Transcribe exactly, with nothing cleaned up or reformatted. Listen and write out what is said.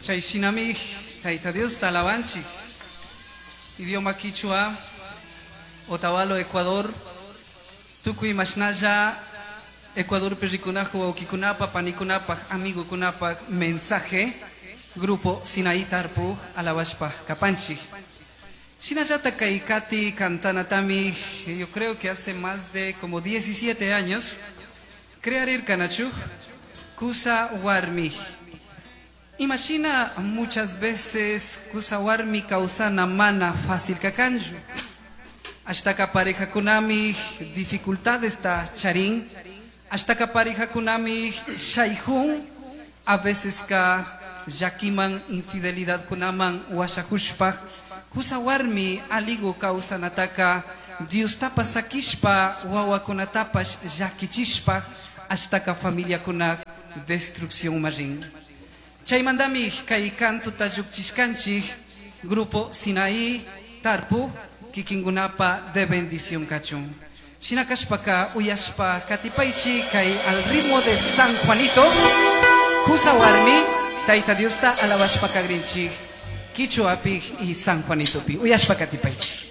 Chay shinami Tayta Diosta alabanchik. Idioma Quichua, Otavalo, Ecuador, Tukuy mashnalla, Ecuador rikunaju wawkikunapa, panikunapa, amigukunapa, mensaje, Grupo Sinaí Tarpuj, alabashpa kapanchik. Shinallata kay kati kantanatami, yo creo que hace más de como diecisiete años, crearirkanachu, Kusa Warmi. Imagina muchas veces kusa warmi kawsana mana fácil kakanchu. Ashtaka parejakunami dificultades ta charin. Ashtaka parejakunami shaijun. A veces ka llakiman infidelidad kunaman washajushpa. Kusa warmi aligu kawsanataka Dios tapa sakishpa wawakunatapash llakichishpa ashtaka familia kuna destrucción marin. Chaymantami kay kantuta llukchishkanchik Grupo Sinaí Tarpu kikingunapa de bendición kachun. Shinakashpaka uyashpa katipaychi kay al ritmo de San Juanito Kusa warmi Tayta Diosta alabashpa kagrinchik Quichuapi y San Juanitopi uyashpa katipaychi.